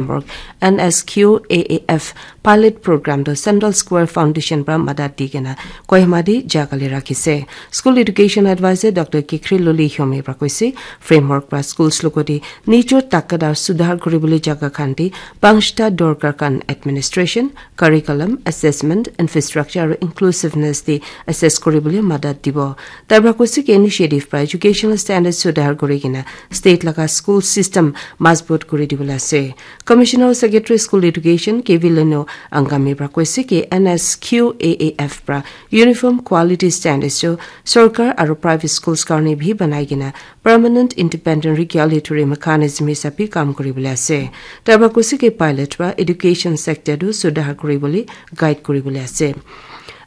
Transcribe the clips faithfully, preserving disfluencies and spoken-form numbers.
Framework, N S Q A A F, pilot program to Central Square Foundation pra madat di kena Kohima di jakali rakhise. School Education Advisor Doctor Kikhri Luli Hyomi pra koise, framework pra schools logoti nijor takat ar sudhar kuribole jaga khan di pangsta dorkar khan administration, curriculum, assessment, infrastructure aru inclusiveness di assess kuribole madat dibo. Tai pra koise ki initiative pra educational standards sudhar kuri kena state laga school system mazbut kuri dibole ase. Commissioner Secretary School Education K V Leno Angami pra koise ki N S Q A A F pra uniform quality standards jo sorkar aru private schools karne bhi banai kena permanent independent regulatory mechanism hisabe kam kuribole ase. Tai pra koise ki pilot pra education sector tu sudhar kuribole guide kuribole ase.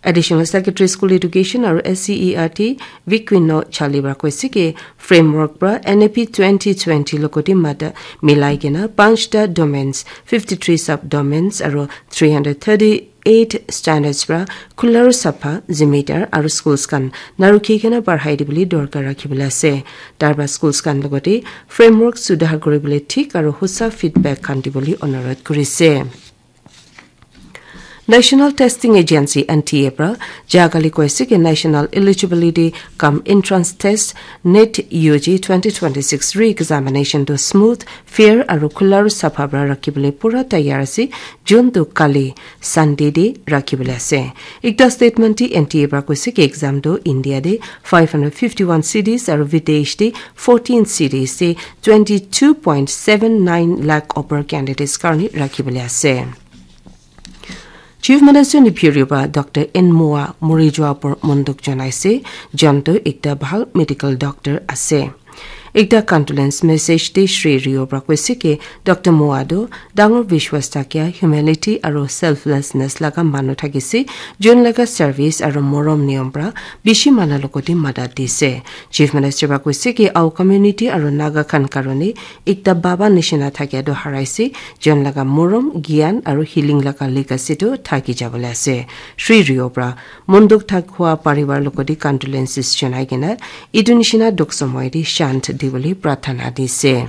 Additional Secretary School Education aru S C E R T Viquino Chali pra koise ki framework pra N A P twenty twenty logoti mata milai kena panchta domains, fifty-three subdomains aru three hundred thirty eight standards pra khula aru sapha, zimidar aru schools khan narukhi kena barhai dibole dorkar rakhibole ase. Tarba schools khan logote framework sudhar kuribole thik aru hosa feedback khan dibole onurodh kurise. National Testing Agency, N T A, pra jagale koise ki National Eligibility cum Entrance Test, NET U G twenty twenty-six re-examination to smooth, fair aru khula aru sapha pra rakhibole pura tayar ase. June tu kali Sunday de rakhibole ase. Ekta statement de N T A pra koise ki exam tu India de five hundred fifty-one cities aru videsh de fourteen cities de twenty-two point seven nine lakh upper candidates karne rakhibole ase. Chief Minister Neiphiu Rio pra Doctor N Moa mori jua por monduk janaise, jon tu ekta bhal medical doctor ase. Ekta condolence message te Shri Rio pra koise ki Doctor Moa tu dangor vishwas thakia, humility aru selflessness laga manu thakise, jon laga service aru morom niyom pra bishi manu logote madat dise. Chief Minister pra koise ki our community aru Naga khan karone ekta baba nishina thakia tu haraise, jon laga morom, gyan aru healing laga legacy tu thaki jabole ase. Shri Rio pra monduk thak hua parivar logote condolences janai kena etu nishina dukh somoy de shant dibole prarthana dise.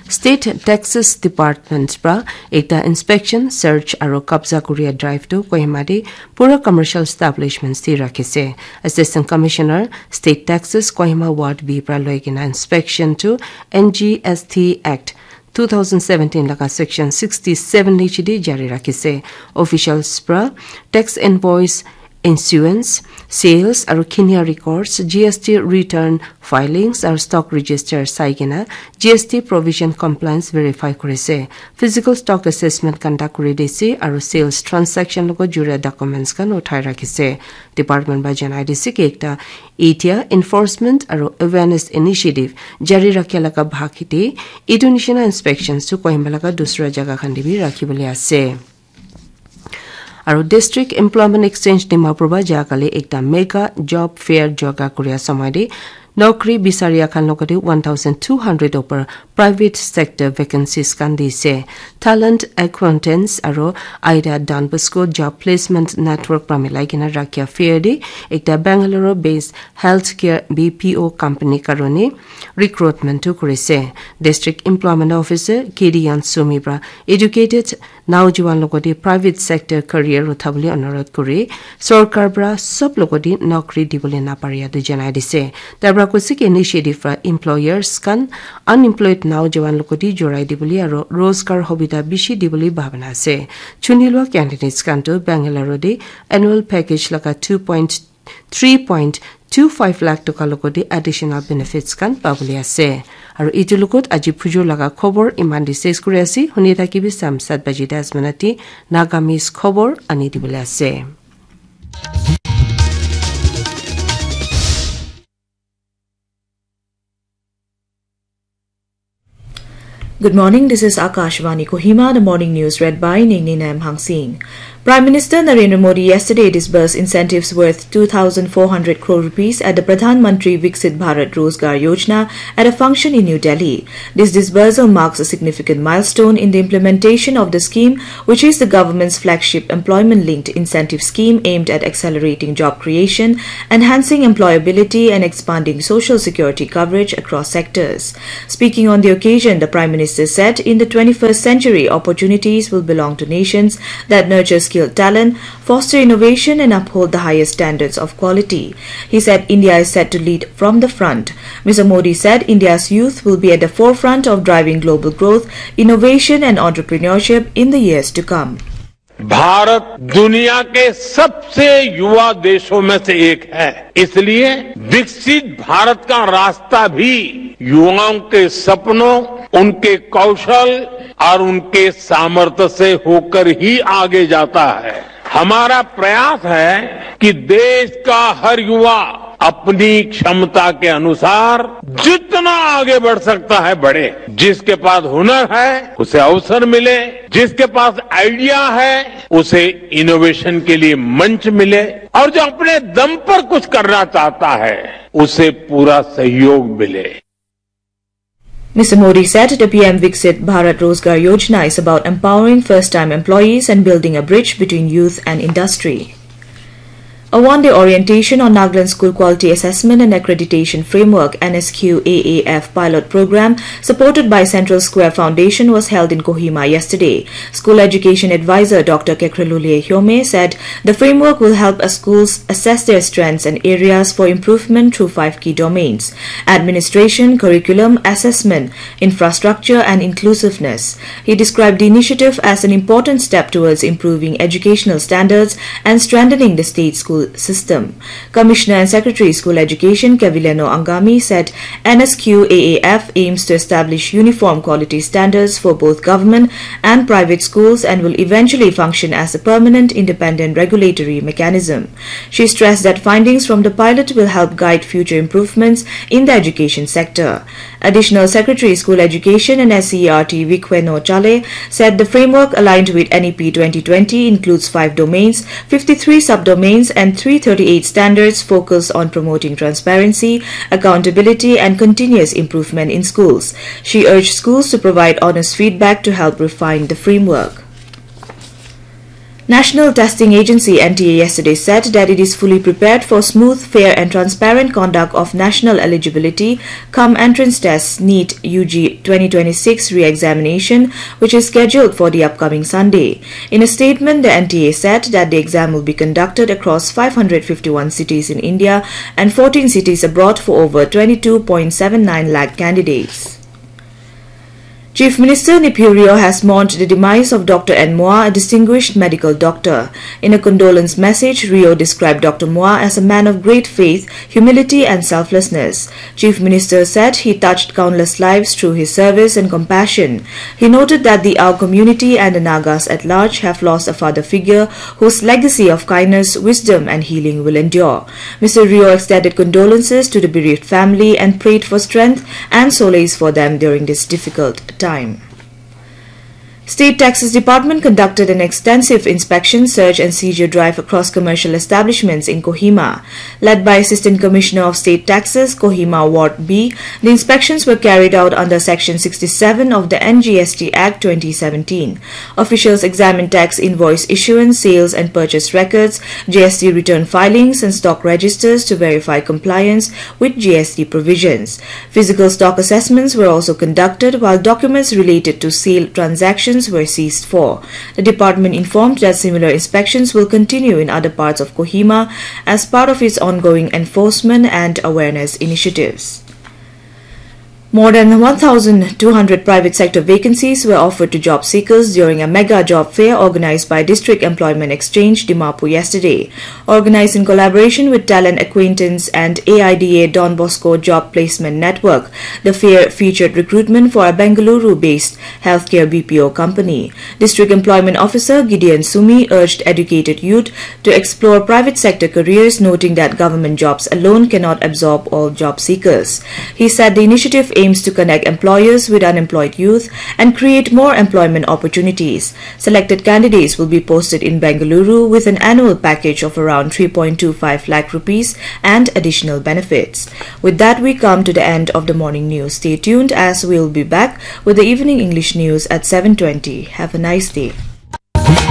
State Taxes Department pra ekta inspection, search aru kabza kuria drive tu Kohima de pura commercial establishments de rakhise. Assistant Commissioner State Taxes Kohima Ward B pra loi kena inspection tu N G S T Act two thousand seventeen laga section sixty-seven niche de jari rakhise. Officials pra tax invoice, issuance, sales aru kinia records, G S T return filings aru stock register sai kena G S T provision compliance verify kurise. Physical stock assessment conduct kuri dise aru sales transaction logo juria documents khan uthai rakhise. Department pra janai dise ki ekta etia enforcement aru awareness initiative jari rakhia laga bhag hite etu nishina inspections tu Kohima laga dusra jaga khan de bi rakhibole ase. Aru District Employment Exchange Dimapur pra jagale ekta mega job fair joga kuria samay de nokri bisaria khan logote one thousand two hundred upar private sector vacancies khan dise. Talent Acquaintance aru Ida Don Bosco Job Placement Network pra milai kena rakhia fair de ekta Bangalore based healthcare B P O company karone recruitment tu kurise. District Employment Officer K D Yansumi pra educated naujuan logote private sector career uthabole onurodh kuri, sorkar pra sob logote nokri dibole naparia tu janai dise. Tai pra koise ki initiative pra employers khan unemployed naujuan logote jorai dibole aru rozgar hobida bishi dibole bhabana ase. Chuni lua candidates khan tu Bangalore de annual package laga two point three point two five lakh toka logote additional benefits khan pabole ase. Aru etu logot aji phujur laga khobor iman de ses kuri ase. Huni thakibi sam sat baji das minute te Nagamese khobor ani dibole ase. Good morning, this is Akashvani Kohima, the morning news read by Ningnina M Hangsing. Prime Minister Narendra Modi yesterday disbursed incentives worth two thousand four hundred crore rupees at the Pradhan Mantri Viksit Bharat Rozgar Yojana at a function in New Delhi. This disbursal marks a significant milestone in the implementation of the scheme, which is the government's flagship employment-linked incentive scheme aimed at accelerating job creation, enhancing employability, and expanding social security coverage across sectors. Speaking on the occasion, the Prime Minister Minister said in the twenty-first century, opportunities will belong to nations that nurture skilled talent, foster innovation, and uphold the highest standards of quality. He said India is set to lead from the front. Mister Modi said India's youth will be at the forefront of driving global growth, innovation, and entrepreneurship in the years to come. भारत दुनिया के सबसे युवा देशों में से एक है, इसलिए विकसित भारत का रास्ता भी युवाओं के सपनों, उनके कौशल और उनके सामर्थ्य से होकर ही आगे जाता है। हमारा प्रयास है कि देश का हर युवा अपनी क्षमता के अनुसार जितना आगे बढ़ सकता है, बढ़े। जिसके पास हुनर है, उसे अवसर मिले, जिसके पास आइडिया है, उसे इनोवेशन के लिए मंच मिले, और जो अपने दम पर कुछ करना चाहता है, उसे पूरा सहयोग मिले। Mister Modi said the P M Viksit Bharat Rozgar Yojana is about empowering first-time employees and building a bridge between youth and industry. A one-day orientation on Nagaland School Quality Assessment and Accreditation Framework, N S Q A A F, pilot program supported by Central Square Foundation was held in Kohima yesterday. School Education Advisor Doctor Kekrelulie Hyome said the framework will help schools assess their strengths and areas for improvement through five key domains: administration, curriculum, assessment, infrastructure, and inclusiveness. He described the initiative as an important step towards improving educational standards and strengthening the state school system. Commissioner and Secretary School Education Kevileno Angami said N S Q A A F aims to establish uniform quality standards for both government and private schools and will eventually function as a permanent independent regulatory mechanism. She stressed that findings from the pilot will help guide future improvements in the education sector. Additional Secretary School Education and S C E R T Vikweno Chale said the framework aligned with N E P twenty twenty includes five domains, fifty-three subdomains, and three thirty-eight standards focused on promoting transparency, accountability, and continuous improvement in schools. She urged schools to provide honest feedback to help refine the framework. National Testing Agency N T A yesterday said that it is fully prepared for smooth, fair and transparent conduct of national eligibility cum entrance tests NEET U G twenty twenty-six re-examination, which is scheduled for the upcoming Sunday. In a statement, the N T A said that the exam will be conducted across five hundred fifty-one cities in India and fourteen cities abroad for over twenty-two point seven nine lakh candidates. Chief Minister Neiphiu Rio has mourned the demise of Doctor N Moa, a distinguished medical doctor. In a condolence message, Rio described Doctor Moa as a man of great faith, humility and selflessness. Chief Minister said he touched countless lives through his service and compassion. He noted that the Ao community and the Nagas at large have lost a father figure whose legacy of kindness, wisdom and healing will endure. Mister Rio extended condolences to the bereaved family and prayed for strength and solace for them during this difficult time. State Taxes Department conducted an extensive inspection, search and seizure drive across commercial establishments in Kohima. Led by Assistant Commissioner of State Taxes, Kohima Ward B, the inspections were carried out under Section sixty-seven of the N G S T Act twenty seventeen. Officials examined tax invoice issuance, sales and purchase records, G S T return filings and stock registers to verify compliance with G S T provisions. Physical stock assessments were also conducted, while documents related to sealed transactions were seized for. The department informed that similar inspections will continue in other parts of Kohima as part of its ongoing enforcement and awareness initiatives. More than one thousand two hundred private sector vacancies were offered to job seekers during a mega job fair organized by District Employment Exchange, Dimapur, yesterday. Organized in collaboration with Talent Acquaintance and A I D A Don Bosco Job Placement Network, the fair featured recruitment for a Bengaluru-based healthcare B P O company. District Employment Officer Gideon Sumi urged educated youth to explore private sector careers, noting that government jobs alone cannot absorb all job seekers. He said the initiative aims to connect employers with unemployed youth and create more employment opportunities. Selected candidates will be posted in Bengaluru with an annual package of around three point two five lakh rupees and additional benefits. With that, we come to the end of the morning news. Stay tuned as we'll be back with the evening English news at seven twenty. Have a nice day.